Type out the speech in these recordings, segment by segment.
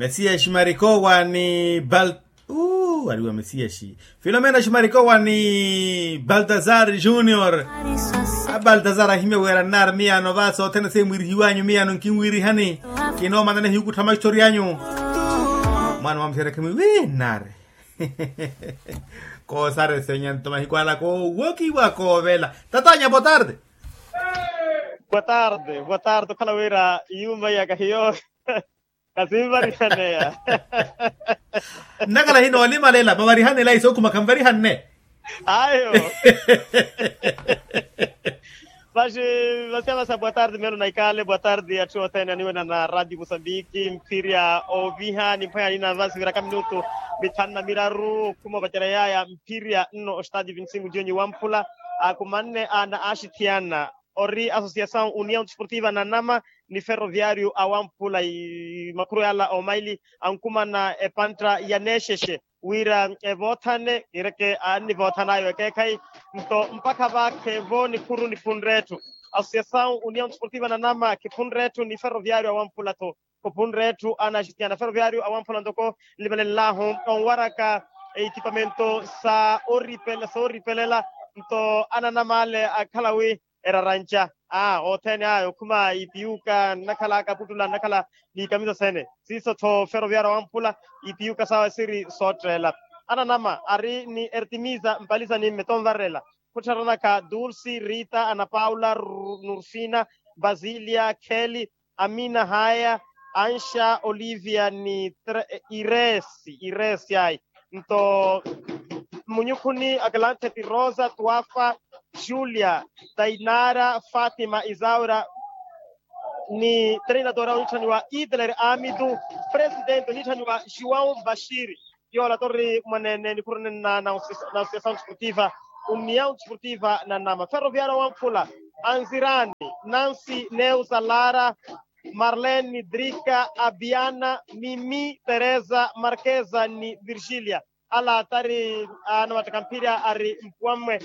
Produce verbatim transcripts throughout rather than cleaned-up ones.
Mesiyaxi marikowa ni bal uu ariwa mesiyaxi filomena ximarikowa ni baltazar junior. Abaltazar ahimya wira nnaari miyano va sothene seemwirihiwanyu miyano nkinwirihani. Kinoomanana ehiyukuttha maxitori anyu. Mwaana mwamuxeera khimwi wi nnaari. Koosarese nyanto mahiku ala koowokiwa koovela. Tatanya botarde. Botarde botarde okhala wira yuuma iyaka hiyo. Kasinvarihaneya. Nnakhala hinoolimalela mavarihanela iso okhuma khanvarihanne. Ayo. Vaxi vasiya vasa boa tarde melo na ikale boa tarde atthu othene aniwena na radio musambiki mphirya oviha ni mphwanya nina vasi viraka minutu mithanu na miraru okhuma opacereyaya mphirya nno ostadio vinti cinco dionyi wamphula. Akumanne ana axithiyana ori associação união desportiva nanama ni ferroviário awamphula makhuru yala omaili ankumana epantta ya nexexe wira evoothane kireke annivoothan'ayo ekeekhayi. Nto mpakha vaakhevo nikhuru niphunre etthu associação união desportiva nanama khiphunre etthu ni ferroviário awamphula-tho. Khuphunre etthu ana axitiyana ferroviário awamphula ntoko nlimelenlahu onwaraka ekipamento sa oripelela nto ananama ale akhala wi eraranca a othene aya okhuma ipiyuka nnakhala akaputtula nnakhala ni ikamisa sene siiso-tho ferroviário awamphula ipiyuka sawe siri sootteela. Ananama ari ni ertimisa mpalisa ni mmeto onvarela khuttharanaka dulsi rita ana paula nurfina basilia kheli amina haya anxa olivia ni iresi iresi ayi nto munyukhuni akalanthe ti rosa tuafa julia tainara fatima isaura ni treinadora onitthaniwa idler amidu presidente onitthaniwa juwau bashiri. Yola tori mwaneene nikhurunenna na associação desportiva união desportiva nanama ferroviário wamphula anzirani nansi neusa lara marlene drika abiana mimi teresa markeza ni virgilia. Ala tari anamattaka mphirya ari mpuwammwe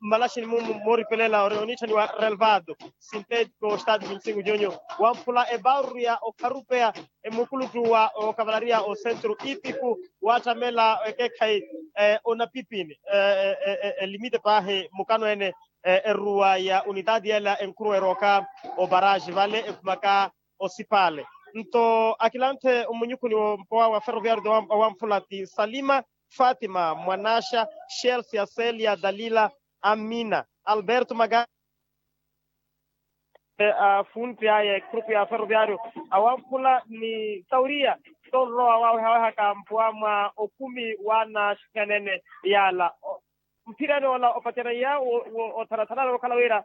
mmalaxini mumu mooripelela ori onitthaniwa relvado sintético stadio vinti cinco dionyo wamphula ebauru ya okharupeya emukuluttu wa okavalariya osentru ipiku waattamela ekeekhayi onapipini elimite paahi mukano ene eruwa ya unitati ela enkhuruwa erooka oparaxi vale ekhumaka osipale. Nto akilanthe omunyukhuni wompowa wa ferroviário awamphula ti salima fatima mwanaxa chelsea celia dalila amina alberto maga afunti aya ekhurupu ya ferroviário awamphula ni sauriya tonrowa wawehawehaka mpuwa mwa okhumi w'anaxikhanene yala. Mphirani ola opacerya wo othanathana okhala wira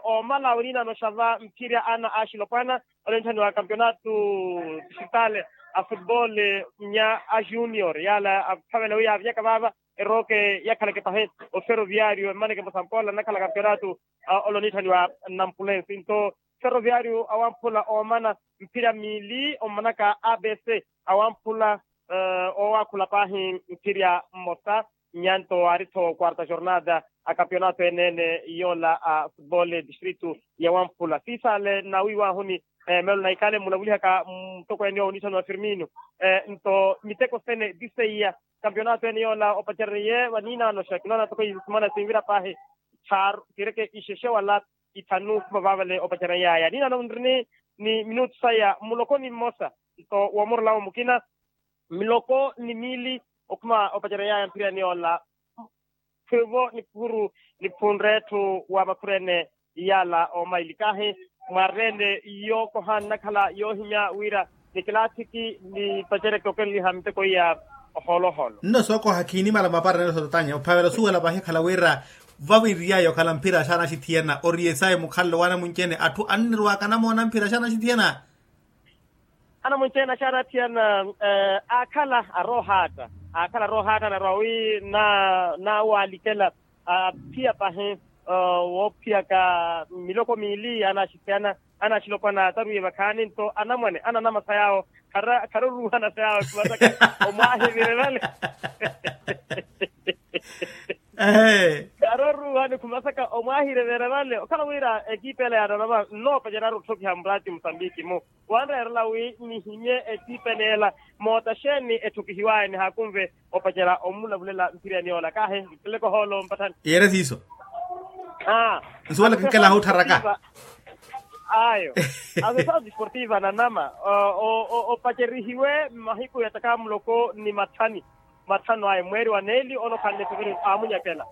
omala oninaano xava mphirya ana axilopwana onenthaniwa kampionato distritale a futebol nya ajunior yala aphavela wi yaavinyaka vaava erooke yakhaleke pahi oferoviário emmaneke musampola nnakhala kampionato olo onitthaniwa nampulensi nto ferroviário awamphula oomana mphira miili ommanaka abc awamphula owaakhula paahi mphirya mmosa nyanto aari-tho quarta jornada a kampionato ene-ene yoola a futebol distrito ya wamphula siisaale nawiiwaahuni melo na ikale mmulavulihaka mutokweene owo onitthaniwa firmino nto miteko sene tiseiya kampionato ene yoola opacereriye vaniinaano xa kinoona toko isimana sinvira paahi tthaaru kireke ixexe wala ithanu khuma vaavale opacerya yaaya niinaano nrini ni minutu saya muloko ni mmosa nto woomorolawo mukina miloko ni miili okhuma opacerya yaaya mphirani yoola khwiivo nikhuru niphunre etthu wa makhuru ene yaala omaili kahi mwarene yookoha nnakhala yoohimya wira nikilaathiki nipacereke okenliha miteko iya oholoholo nno sookoha khiinimala mapara nelo sotatanya ophavela osuwela paahi ekhala wira vaviriyaya okhala mphira xaana axithiyana ori esayi mukhalelo w'anamunci-ene atthu annirowaaka anamoona mphira xaana axithiyana anamunci-ene axaana axithiyana aakhala aroohaatta aakhala aroohaatta anarowa wi naawalikela aphiya pahi woophiyaka miloko miili anaaxithiyana anaaxilopwana taruwiye vakhaani nto anamwane ananamasa yaawo kharoruuhana sa yaawo kivataka omwaahivire vale ehe Aroruuhani khumasaka omwaahirerera vale okhala wira ekipa ela ya nanama nnoopaceryaru otthokiha muraati musambiki-mu. Wanreerela wi nihimye ekipa ela moota xeeni etthokihiwaya nihaakunve opacerya omulavulela mphiriyani yoola kaahi nteleke ohoolo mpatthani. Yeere siiso. Aa. Nsuwela kinkela ahuttharaka. Ayo. Asosao disportiva nanama opacerihiwe mahiku ya takaamuloko ni matthani matthanu aya mweeri wa neeli onokhanle fevereru aamunyakela.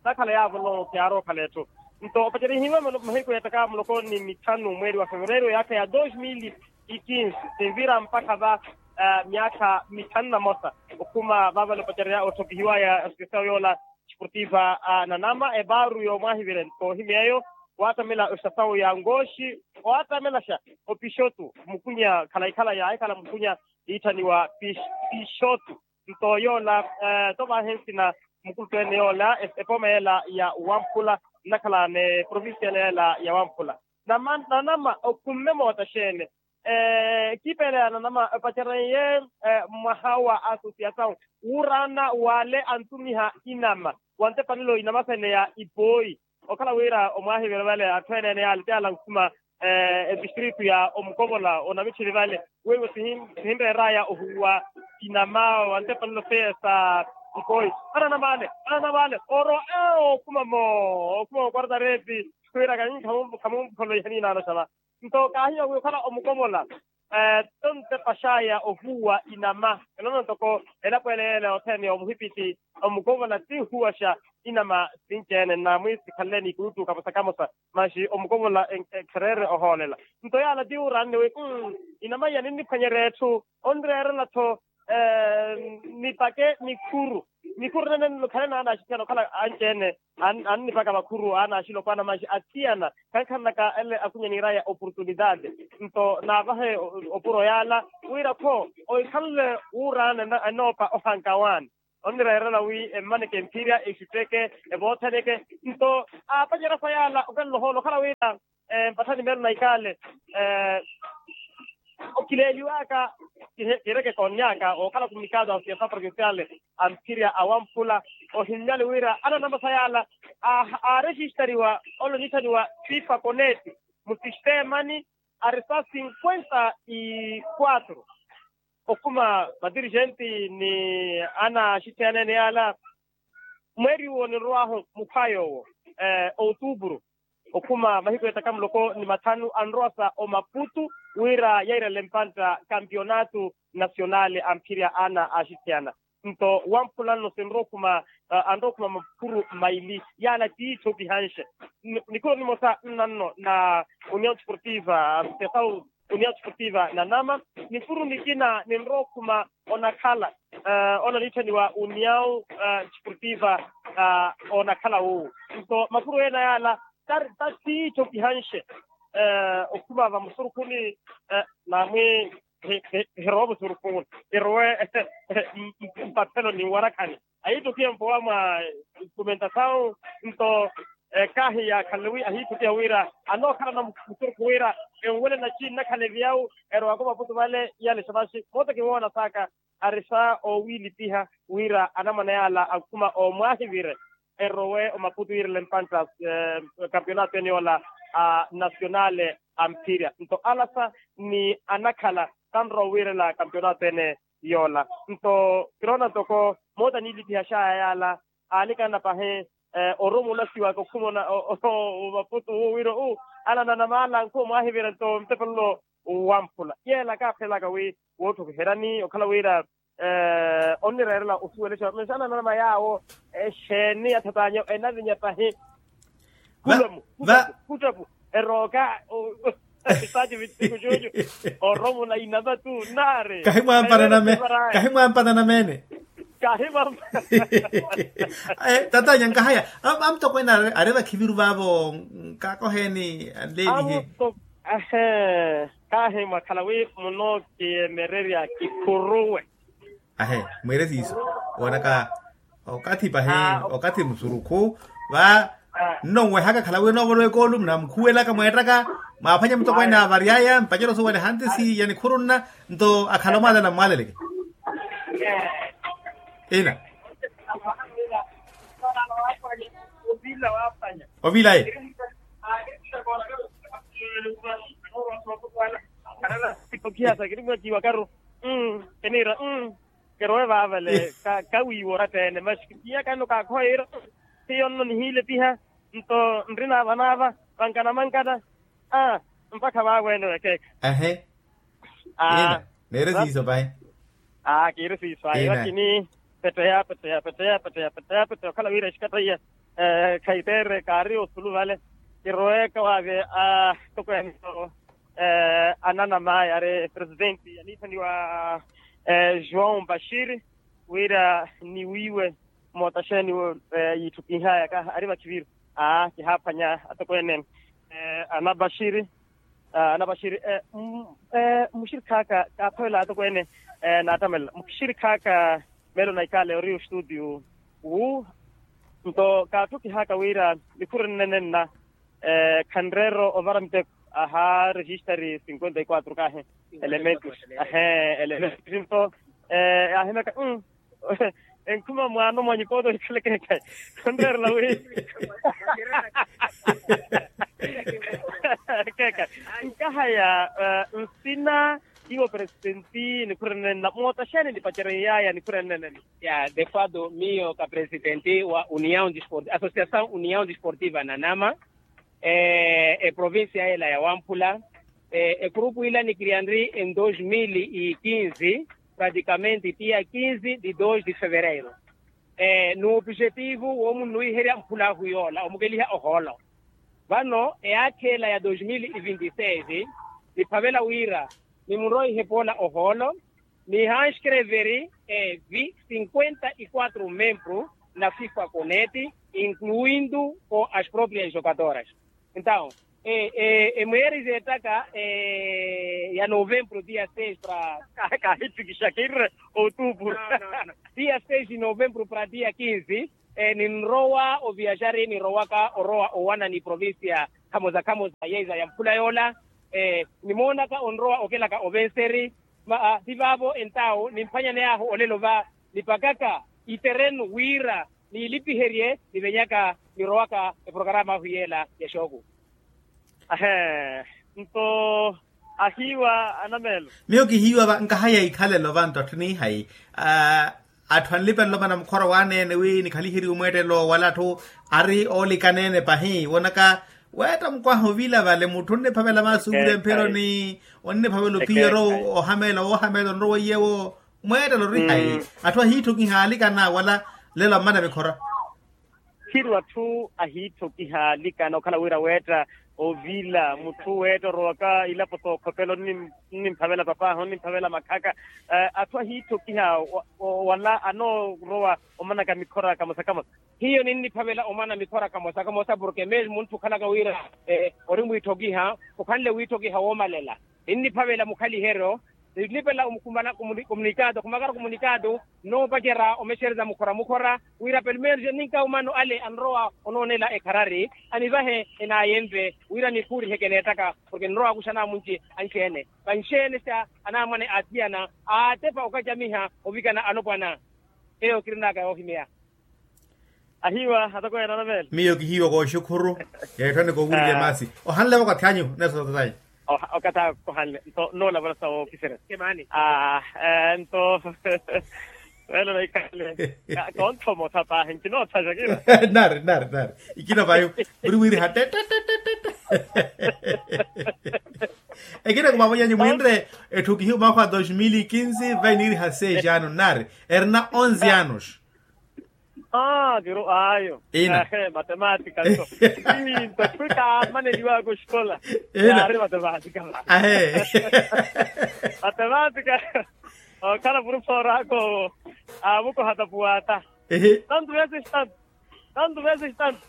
Nakhala yaavo nlongo kiyaari okhala etthu. Nto opacerihiwe mahiku ya takaamuloko ni mitthanu mweeri wa fevereru yaakha ya dos mil e quinze sinvira mpakha va myaakha mitthanu na mosa okhuma vaavale opacerya otthokihiwaya asosao yoola disportiva nanama epaaru yoomwaahivire nto ohimy'eyo. Waatamela ostasawu ya nkooxi owaatamelaxa opixotu mukunya khalayi-khalayi aahikhala mukunya iitthaniwa pixotu. Nto yoola tto vaahi nsina mukuluttu-ene yoola epooma yeela ya wamphula nnakhala n'eprovincia yeela ya wamphula. Nanama okhumme moota xeene? Ekipa ela ya nanama epacereye mwaha wa asosiasawu wuuraana w'ale antumiha inama wa ntepanelo inama sene ya ipooyi. Okhala wira omwaahivire vale atthu ene-ene yaale ti yaale ankhuma etistritu ya omukovola onamitthini vale weiwo sihinreeraya ohuwa inama wa ntepanelo seye sa ipooyi. Ananama ale ananama ale oro okhuma mo okhuma mo kwartareeti. Khwiira kahi khamumphololo ihaninaano xava. Nto kaahiya wi okhala omukovola tto ntepa xaya ohuwa inama enono ntoko elapo ele yeela yothene yomuhipiti omukovola ti nhuwaxa inama sinci-ene nnaamwi sikhanle ni ikulutu kamosa-kamosa. Maxi omukovola ekhereerye ohoolela nto yaala ti wuuraanne wi inama iya ninniphwanyerya etthu onreerela-tho nipake nikhuru. Nikhuru nene nlo khale naanaxithiyana okhala anci-ene annipaka vakhuru aanaxilopwana maxi athiyana khankhanlaka ele akunya niiraya oportunidade. Nto naavahe opuro yaala wira-kho ohikhanle wuuraana enoopa ohankawaani onnireerela wi emmaneke emphirya exutteke evoothaneke. Nto aapacerya sa yaala okanlohoolo okhala wira mpathani meelo na ikaale okileeliwaka kiireke koonnyaka okhala kumikato a siasa provinciale a mphirya a wamphula ohinnyali wira ananamasa yaala aaresistariwa ole oniithaniwa fifa koneti mu sistemani ari sa cinquenta y quatro. Okhuma madirigenti ni anaaxitthiyana ene yaala mweeri uwo ninrow'ahu mukhwayo owo outupuru okhuma mahiku ya ttaka muloko ni matthanu anrowasa omaputu wira yairele mpantta kampionato nasionale a mphirya ana aaxitthiyana. Nto wamphula nno sinrowa okhuma anrowa okhuma makhuru maili yaala tiitthokihanxe. Nikhuru nimosa nnanno na union sportiva a sesau union sportiva nanama. Nikhuru nikina ninrowa okhuma onakhala ole oniitthaniwa union sportiva onakhala wuwo. Nto makhuru ena yaala tari tattiitthokihanxe okhuma vamusurukhuni naamwi hirowe musurukhuni irowe mpaphelo ni nwarakhani ahiittokiha mpowa mwa instrumentasawu. Nto kaahi yaakhanle wi ahiittokiha wira anookhalana musurukhu wira enwele naci nnakhala eviyawu erowaka omaputu vale iyale xavaxi moota kiwoona saaka ari sa owiilipiha wira anamwane yaala ankhuma omwaahivire erowe omaputu yiirele mpantta kampionato ene yoola a nasionale a mphirya nto alasa ni anakhala kanrowa owiirela kampionato ene yoola. Nto kiroona ntoko moota niilipihaxaya yaala aanikana pahi oromo olasiwaka okhuma omaputu uwo wira u anananamaala nkhuwa mwaahivira nto ntepelo wamphula yeela kaaphelelaka wi wootthokiheryani okhala wira onnireerela osuwelexa mesa ananama yaawo exeeni athatanya enavinya pahi. Khuttapu khuttapu erooka esitaati vittiku cuucu oromo na inama tu nnaari. Kahimwaampana nameene. Kahimwaampana. Tatanya nkahaya amutokweene ari vakhiviru vaavo nkaakoheeni anleenihe. Ahe. Kaahi mwakhala wi munookiyemererya kikhuruwe. Ahe mwiire siiso woonaka okathi pahi okathi musurukhu va nnonwehaka khala wi noovolowa ekoolu munamukhuwelaka mweettaka mwaaphwanya mutokweene avary'aya mpacelo suwale hantisi ya nikhuru nna nto akhala omwaalala mmwaaleleke ina. ovila ye. Okiha sa kirimwakiwa karu. Kiniira. Kirowe vaavale. Kawiiwa oratta-ene maxi kipiyaka nno kaakhowa yiira. Hiyo nno nihiilepiha. Nto nrina vanaava vankana mankana. Aa mpakha vaawene wekeeka. Ahe. Aa. Neere siiso pahi. Aa kiiri siiso ayo lakini petteya petteya petteya petteya petteya petteya okhala wira exikattaiya. Khaitere kaari osulu vale. Kiroweeka waave atokweene ananamaya ari presidenti aniithaniwa joão bashiri wira niwiiwe. Moota xeeni yiitthukihayaka ari vakhiviru. Aa kihaaphwanya atokweene anabaxiri. Anabaxiri muxirikhaaka kaathovela atokweene. Naattamela muxirikhaaka meelo na ikaale ori ostuutiyu wu. Nto kaatthukihaaka wira nikhuri nnene nna khanreero ovara miteko. Aha rejistari cinquenta y quatro kahi elementos. Ahe elementos nto yaahimyaka. Enkhuma mwaano mwa nyukoto ikhaleke ekhayi. Khonreerela wi ekhayi. Nkahaya nsina iwo presidenti nikhuri nnene nna moota xeeni nipacereiyaya nikhuri nnene nna. Ya de fato miyo ka presidenti wa união associação união desportiva nanama. Eprovincia yela ya wamphula. Egurupu ila nikiriya nri en dos mil e quinze praticamente tiya quinze de dos de fevereiro. N'opujetivu woomunnuwiherya mphula ahu yoola omukeliha ohoolo. Vano eyaakha ela ya dos mil e vinte e seis niphavela wira nimunroihe poola ohoolo. Nihanskreveri evi cinquenta e quatro membro na fifa conete incluindo com as proprias jogadoras. Entaw emweeri zeettaka ya novembro dia seis para kahittikixakirre outubro. Dia seis de novembro para dia quinze ninrowa oviaxari nirowaka orowa owana ni provincia khamoza khamoza yeiza ya mphula yoola. Nimoonaka onrowa okelaka ovenseri. Maha ti vaavo entawo nimphwanyaney'ahu olelo va nipakaka iterenu wira niilipiherye nivenyaka nirowaka eprokarama ahu yeela ya xooku. Ahe nto ahiiwa anameelo. Miyo kihiiwa va nkahaya ikhalelo vantu atthu niihayi. Atthu anlipelelo vana mukhora waaneene wi nikhaliheriwe mweettelo wala atthu ari oolikaneene pahi wonaka weetta mukwaha ovila vale mutthu onniphavela maasi owirya mphironi onniphavela ophiyeryo ohameela woohameela onrowa iyewo. Mweettelo ori hayi atthu ahiitthokiha alikana wala lelo ammana mikhora. Khiri atthu ahiitthokiha alikana okhala wira weetta ovila mutthu weetta orowaka ilapo sookhopela onnimphavela papaahu onnimphavela makhaka. Atthu ahiitthokiha wala anoorowa omanaka mikhora kamosa kamosa. Hiyo ninniphavela omana mikhora kamosa kamosa porke mesmo munthu okhalaka wira ori mwiitthokiha okhanle wiitthokiha woomalela. Ninniphavela mukhaliheryo nilipela omukhumana komunikato khumakara komunikato nnoopacerya omexereza mukhora mukhora wira pelmenos ninka omano ale anrowa onoonela ekharari anivahe enaayenve wira nikhuuriheke neettaka porke ninrowa akuxana amunci anci-ene vanci-ene sa anaamwane aathiyana aatepa okacamiha ovikana alopwana. Eyo kirinaka yoohimeya. Ahiiwa atokweene anamele. Miyo kihiiwa kooxukhuru. Yeettho anikoowirye maasi ohanle vakathi anyu neso tatanyu. Okathi ako ohanle nto noolavula sa wookiserya. Nto weelo naikale. Konthomo tha paahi nkinoothasha kira. Nari nari nari ikina vayu muri wiriha tete. Ekina kumamonyanyu mwinre etthu kihiiwa mwakha wa dos mil e quinze vai niiriha seis ano nari erina onze anos. Aa kiro ayo. Ina. Matematika nto. Nto khwita amaneliwaka oxikola. Ina ari matematika. Ahe. Matematika. Okhala puruforo ako amukoha tapuwata. Tantu veses tantu. Tantu veses tantu.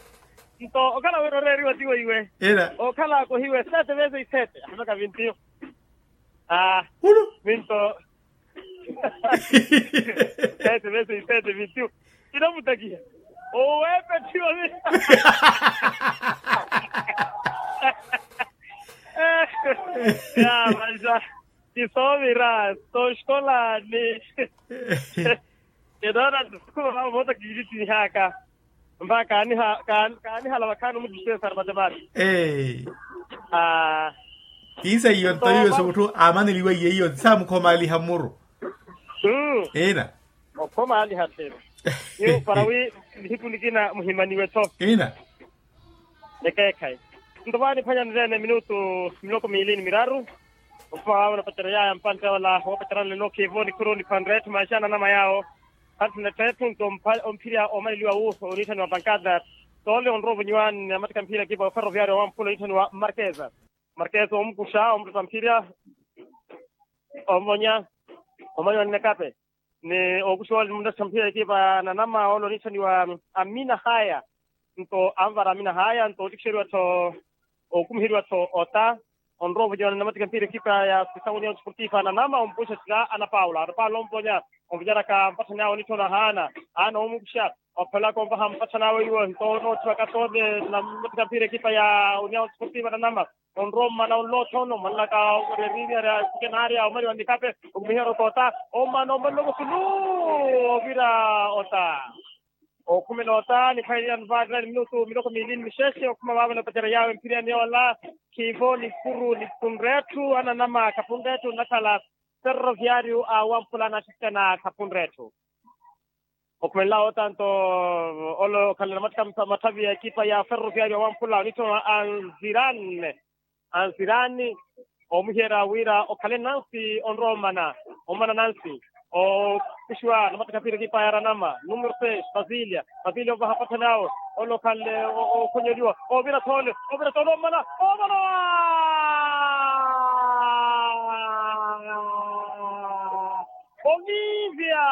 Nto okhala wira oreeriwa tiwo iwe. Ina okhala akohiwe sete veses sete ahimaka vintiyo. Aa. Minto sete veces sete vintiyo. Kinamutakiha owepe thiyo. Ya manja kisoovira soxikola ni kinoona ntuku vavo voota kiilitihaka. Mpa kaanihala vakhaani omuchisesari matepaati. Ee. Kiisa iyo nto iwe suutthu aamaneliwa iye iyo nti saamukhomaaliha mmuru. Ina. Okhomaaliha tthiri. Niyo para wi nihiku nikina muhimaniwe-tho. Ina. Ekeekhayi. Nto vaaniphwanya nirene minutu miloko miili ni miraru. Okhuma waavo napacereryaya mpantte ola woopacerana lelo khiivo nikhuru nikhwanre etthu manxana anama yaawo. Hanthu netthu nto omphirya omaleliwa wu oniitthaniwa pankada. Toole onrowa ovonyiwa ni amattikha mphira ekipa ya ferroviario wa mphula oniitthaniwa markeza. Markeza omukuxa omuttetta mphira. Omonya omanyiwa ni nekape. Ni okuxiwa oli muttetta mphira ekipa ya nanama ole oniitthaniwa amina haya. Nto anvara amina haya nto otikixeriwa-tho okumiheriwa-tho ota. Onrowa ovonyiwa ni namattikha mphira ekipa ya sisanguniya otisportifa nanama ompuxa sira ana paula ana paula omponya. Ovonyaraka mpatthani awe onitthona haana. Haana omukuxa ophelaka onvaha mpatthani awe iwo nto onootthiwaka soole. Namattikha mphira ekipa ya uniya otisportifa nanama. Onrowa omana onlootha ono omanlaka oreririya. Sikenaarya omaliwa nikape okumiherya otoota. Omana omanlaka osulu ovira ota. Okhumela ota nikhwayeliya nvaarira ni minutu miloko miili ni mixexe okhuma vaavo napacerya yaawe mphiriyani yoola. Khiivo ni kuru ni khunretthu ananama khapunretthu nnakhala. Ferroviario a wamphula anaxixikana khapunretthu. Okhumelela otanto ole okhalela matthavi ya ekipa ya ferroviario a wamphula onitthona anzirani. Anzirani omuhiyeerya wira okhale nansi onrowa omana. Omana nansi okuxiwa namattakha mphira ekipa ya ranama numero seis basilia. Basilia ovaha patthani awo ole okhanle okhonyeliwa ovira thole. Ovira thole omana. Omana. Oviivya.